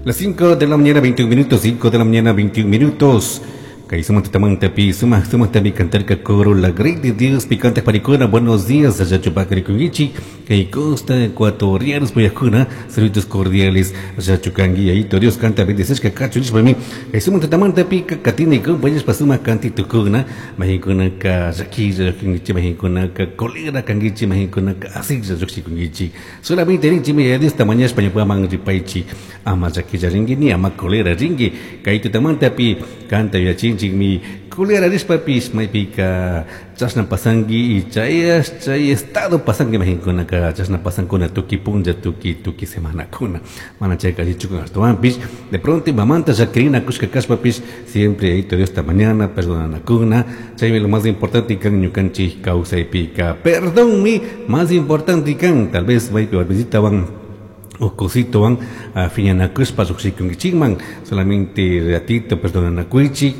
Las 5 de la mañana, 21 minutos, 5 de la mañana, 21 minutos. Kay sumatamanta pi sumaj sumajtami cantarka coro La Grey de Dios picante paricuna. Buenos días, allachupakarikunkichik kay costa ecuatorianos puyajkuna, saludos cordiales, allachukangui ayito Dios canta bendecishka kachu nishpami kay sumatamanta pi katini compañeros sumaj kantitukuna mahinkunaka llaquilla llukshinkichik, mahinkunaka colera kankichik, mahinkunaka asiklla llukshikunkichik. Solamente rinchimi Yaya Diosta mañashpa ñukaman ripaychik, ama llaquilla rinki ni ama colera rinki. Kay tutamanta pi kanta yuyachinchikmi colera rishpapish maypika chashna pasanki y chay chay estado pasanki, mahinkunaka chashna pasankuna tukuy punlla, tukuy tukuy semanakuna, mana chayka allichukun. Ashtawanpish de pronto imamanta llakirinakushka kashpapish siempre Yayito Diosta mañana, perdonanakuna, chaymi lo más importante kan ñukanchik kawsaypika. Perdonmi más importante kan. Tal vez maypi warmisitawan ukusitowan phiñanakushpa llukshikunkichikman, solamente ratito perdonanakuychik,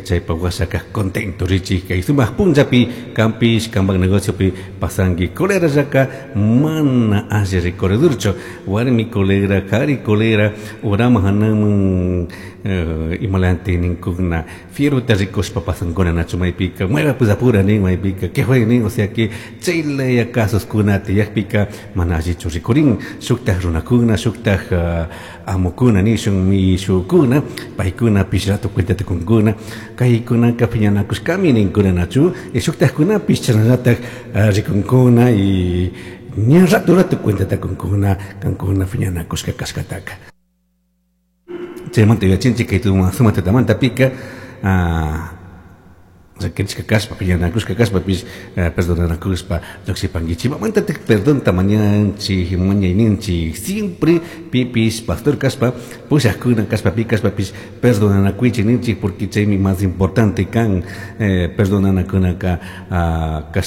chaypa washaka contento richik. Kay sumak punllapi kampish kampak negociopi pasanki. Colerallaka mana alli recorredurchu, warmi colera, kari colera, uraman hanaman imalanti ninkuna, fierrota rikushpa pasankuna, nachu? Maypika maypa apura nin, maypika que fue nin. O sea que chaylaya casoskuna tiyakpika mana allichu rikurin shuktaj runakuna, shuktaj amukuna nishun, mishukuna, paykunapish rato cuentata kunkuna, kaykunaka phiñanakushkami ninkuna, nachu? Y shuktajkunapish chashnallatak rikunkuna y ña rato rato cuentata kunkuna kankuna phiñanakushka kashkataka. Chaymanta yuyachinchik kay suma tutamantapika llaquirishka kashpa, phiñanakushka kashpapish perdonanakushpa llukshipankichik. Imamantatik perdonta mañanchik, mañayninchik? Siempre pipish pastor kashpa, pushakuna kashpa, pi kashpapish perdonanakuychik ninchik, porque chaymi más importante kan perdonanakunaka kashna.